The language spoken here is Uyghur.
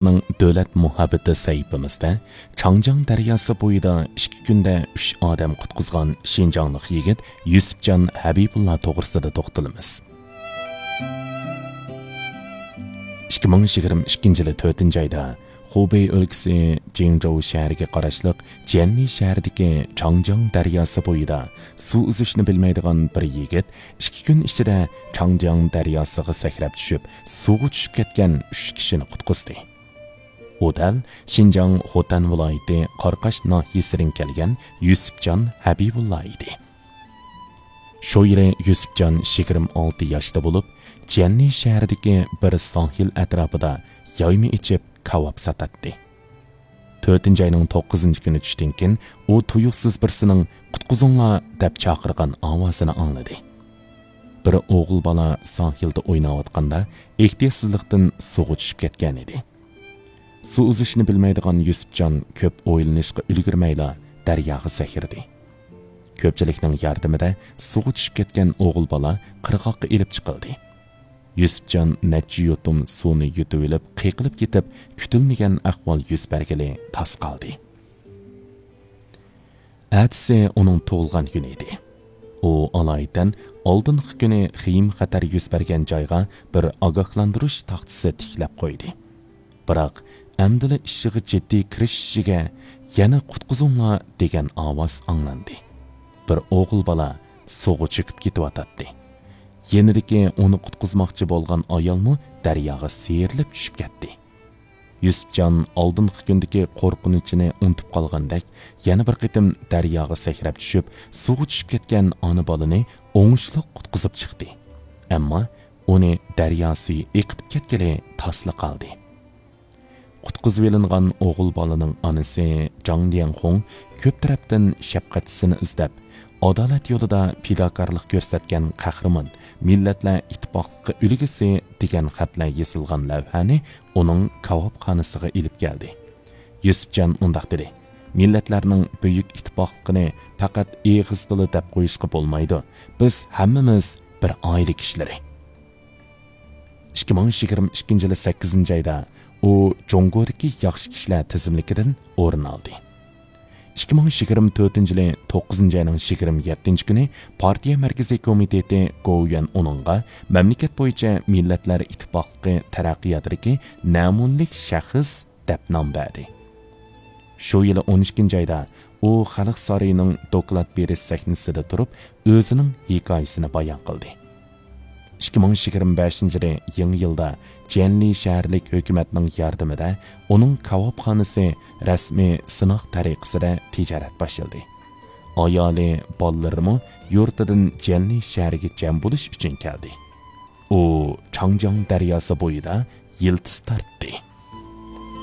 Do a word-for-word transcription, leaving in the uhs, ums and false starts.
نىڭ دۆلەت مۇھەببىتى سەھىپىمىزدە چاڭجياڭ دەرياسى بويىدا ئىككى كۈندە ئۈچ ئادەم قۇتقۇزغان شىنجاڭلىق يىگىت يۈسۈپجان ھەبىبۇللا توغرىسىدا توختىلىمىز. ئىككى مىڭ يىگىرمە ئىككىنچى يىلى تۆتىنچى ئايدا خۇبېي ئۆلكىسى جىڭجوۋ شەھىرىگە قاراشلىق جيەنلى شەھىرىدىكى چاڭجياڭ دەرياسى بويىدا سۇ ئۈزۈشنى بىلمەيدىغان بىر يىگىت ئىككى كۈن ئىچىدە چاڭجياڭ دەرياسىغا سەكرەپ چۈشۈپ، سۇغا چۈشۈپ كەتكەن ئۈچ كىشىنى قۇتقۇزدى. ئۇ دەل شىنجاڭ خوتەن ۋىلايىتى قاراقاش ناھىيەسىدىن كەلگەن يۈسۈپجان ھەبىبۇللا ئىدى. شۇ يىلى يۈسۈپجان يىگىرمە ئالتە ياشتا بولۇپ، جيەنلى شەھىرىدىكى بىر ساھىل ئەتراپىدا يايما ئېچىپ، كاۋاپ ساتاتتى. تۆتىنچى ئاينىڭ توققۇزىنچى كۈنى چۈشتىن كېيىن ئۇ تۇيۇقسىز بىرسىنىڭ «قۇتقۇزۇڭلار» دەپ چاقىرغان ئاۋازىنى ئاڭلىدى. بىر ئوغۇل بالا ساھىلدا ئويناۋاتقاندا ئېھتىياتسىزلىقتىن سۇغا چۈشۈپ كەتكەن ئىدى. سۇ ئۈزۈشنى بىلمەيدىغان يۈسۈپجان كۆپ ئويلىنىشقا ئۈلگۈرمەيلا دەرياغا سەكرىدى. كۆپچىلىكنىڭ ياردىمىدە سۇغا چۈشۈپ كەتكەن ئوغۇل بالا قىرغاققا ئېلىپ چىقىلدى. يۈسۈپجان نەچچە يۇتۇم سۇنى يۇتۇۋېلىپ قېقىلىپ كېتىپ، كۈتۈلمىگەن ئەھۋال يۈز بەرگىلى تاس قالدى. ئەتىسى ئۇنىڭ تۇغۇلغان كۈنى ئىدى. ئۇ ئالايىتەن ئالدىنقى كۈنى خېيىم خەتەر يۈز بەرگەن جايغا بىر ئاگاھلاندۇرۇش تاختىسى تىكلەپ قويدى. بىراق، ئەمدىلا ئىشىغا جىددىي كىرىشىشىگە يەنە «قۇتقۇزۇڭلار» دېگەن ئاۋاز ئاڭلاندى. بىر ئوغۇل بالا سۇغا چۆكۈپ كېتىۋاتاتتى. يېنىدىكى ئۇنى قۇتقۇزماقچى بولغان ئايالمۇ دەرياغا سىيرىلىپ چۈشۈپ كەتتى. يۈسۈپجان ئالدىنقى كۈندىكى قورقۇنچىنى ئۇنتۇپ قالغاندەك، يەنە بىر قېتىم دەرياغا سەكرەپ چۈشۈپ، سۇغا چۈشۈپ كەتكەن ئانا بالىنى ئوڭۇشلۇق قۇتقۇزۇپ چىقتى. ئەمما ئۇنى دەريا سۈيى ئېقىتىپ كەتكىلى تاسلا قالدى. قۇتقۇزۇۋېلىنغان ئوغۇل بالىنىڭ ئانىسى جاڭ ليەنخۇڭ كۆپ تەرەپتىن شەپقەتچىسىنى ئىزدەپ، ئادالەت يولىدا پىداكارلىق كۆرسەتكەن قەھرىمان، مىللەتلەر ئىتتىپاقلىقى ئۈلگىسى دېگەن خەتلەر يېزىلغان لەۋھەنى ئۇنىڭ كاۋاپخانىسىغا ئېلىپ كەلدى. يۈسۈپجان مۇنداق دېدى: «مىللەتلەرنىڭ بۈيۈك ئىتتىپاقلىقىنى پەقەت ئېغىزدىلا دەپ قويۇشقا بولمايدۇ. بىز ھەممىمىز بىر ئائىلە كىشىلىرى.» ئىككى مىڭ يىگىرمە ئىككىنچى يىلى سەككىزىنچى ئايدا ئۇ جۇڭگودىكى ياخشى كىشىلەر تىزىملىكىدىن ئورۇن ئالدى. ئىككى مىڭ يىگىرمە تۆتىنچى يىلى توققۇزىنچى ئاينىڭ يىگىرمە يەتتىنچى كۈنى پارتىيە مەركىزىي كومىتېتى گوۋۇيۈەن ئۇنىڭغا مەملىكەت بويىچە مىللەتلەر ئىتتىپاقلىقى تەرەققىياتىدىكى نەمۇنىلىك شەخس دەپ نام بەردى. شۇ يىلى ئون ئىككىنچى ئايدا ئۇ خەلق سارىيىنىڭ دوكلات بېرىش سەھنىسىدە تۇرۇپ، ئۆزىنىڭ ھېكايىسىنى بايان قىلدى. ئىككى مىڭ يىگىرمە بەشىنچى يىلى يېڭى يىلدا جيەنلى شەھەرلىك ھۆكۈمەتنىڭ ياردىمىدە ئۇنىڭ كاۋاپخانىسى رەسمىي سىناق تەرىقىسىدە تىجارەت باشلىدى. ئايالى، بالىلىرىمۇ يۇرتىدىن جيەنلى شەھىرىگە جەم بولۇش ئۈچۈن كەلدى. ئۇ چاڭجياڭ دەرياسى بويىدا يىلتىز تارتتى.